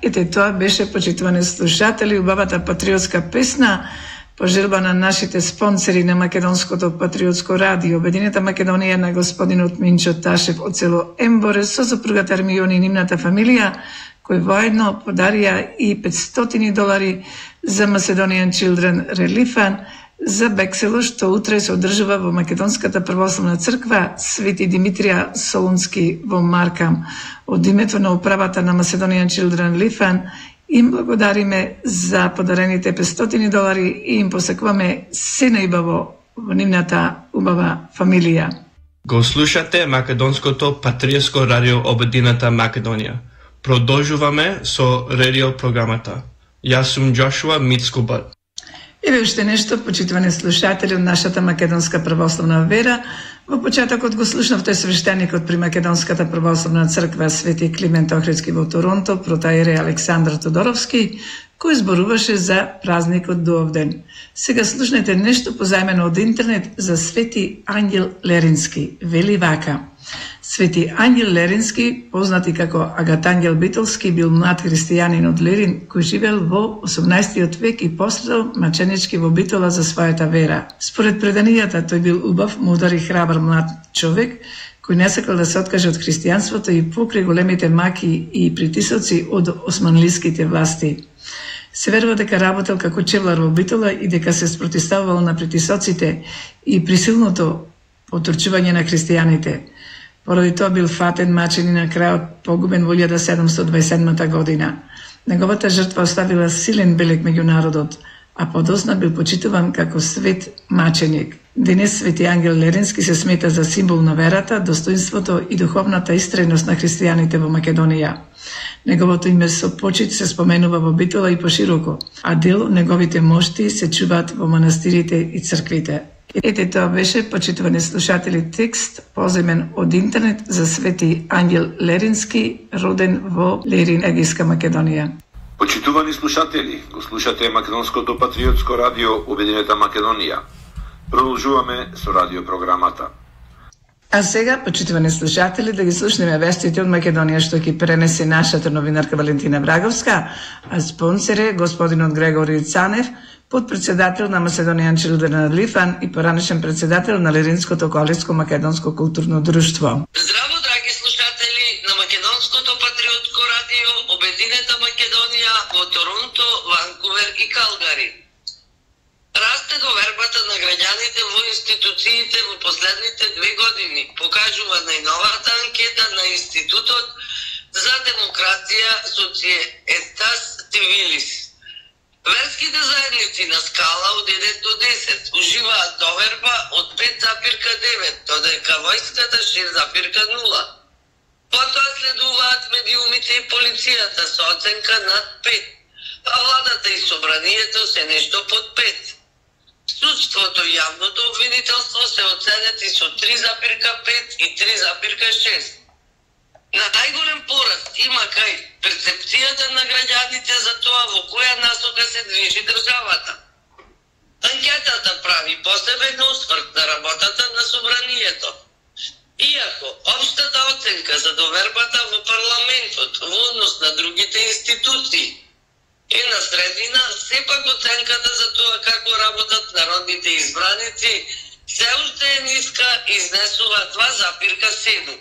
Ете, тоа беше, почитувани слушатели, убавата патриотска песна по желба на нашите спонсори на Македонското патриотско радио, Обединета Македонија, на господинот Минчо Ташев од село Емборе со сопругата Армијони и нивната фамилија, кои воедно подарија и $500 за Macedonian Children Relief Fund за Бексело, што утре се одржува во Македонската православна црква Свети Димитрија Солунски во Маркам. Од името на управата на Macedonian Children Relief Fund им благодариме за подарените $500 и им посакуваме се најубаво во нивната убава фамилија. Го слушате Македонското патриотско радио Обединета Македонија. Продолжуваме со радио програмата. Јас сум Джошуа Мицкубат. Еве уште нешто, почитувани слушатели од нашата македонска православна вера. Во почетокот го слушнавте свештеникот при Македонската православна црква Свети Климент Охридски во Торонто, протоиерей Александар Тодоровски, кој зборуваше за празникот Дуовден. Сега слушнете нешто позајмено од интернет за Свети Ангел Лерински. Вели вака: Свети Ангел Лерински, познат и како Агатангел Битолски, бил млад христијанин од Лерин кој живел во 18 век и пострадал маченички во Битола за својата вера. Според преданијата, тој бил убав, мудар и храбар млад човек кој не сакал да се откаже од христијанството и покрај големите маки и притисоци од османлиските власти. Се верува дека работел како чевлар во Битола и дека се спротивставувал на притисоците и присилното отурчување на христијаните. Поради тоа бил фатен, мачен и на крајот погубен во 1727 година. Неговата жртва оставила силен белег меѓу народот, а подосна бил почитуван како свет маченик. Денес Свети Ангел Лерински се смета за символ на верата, достоинството и духовната истреност на христијаните во Македонија. Неговото име со почит се споменува во Битола и пошироко, а дел од неговите мошти се чуваат во манастирите и црквите. Ете, тоа беше, почитувани слушатели, текст поземен од интернет за Свети Ангел Лерински, роден во Лерин, Егейска Македонија. Почитувани слушатели, го слушате Македонското патриотско радио Обединета Македонија. Продолжуваме со радиопрограмата. А сега, почитувани слушатели, да ги слушнеме вестите од Македонија што ќе пренесе нашата новинарка Валентина Враговска, а спонсор е господинот Грегори Цанев, подпредседател на Macedonian Children Relief Fund и поранешен председател на Леринското колеско македонско културно друштво. Здраво, драги слушатели на Македонското патриотско радио Обединета Македонија во Торонто, Ванкувер и Калгари. Расте довербата на граѓаните во институциите во последните 2 години, покажува најновата анкета на Институтот за демокрација Societas Civilis. Верските заедници на скала од 1 до 10 уживаат доверба од 5,9, додека војската 6,0. Потоа следуваат медиумите и полицијата со оценка над 5, а владата и собранието се нешто под 5. Судството и јавното обвинителство се оценети со 3,5 и 3,6. На најголем пораст има кај перцепцијата на граѓаните за тоа во која насока се движи државата. Анкетата прави посебен осврт на работата на собранието. Иако општата оценка за довербата во парламентот во однос на другите институции е на средина, сепак оценката за тоа како работат народните избраници се уште е ниска и изнесува 2,7.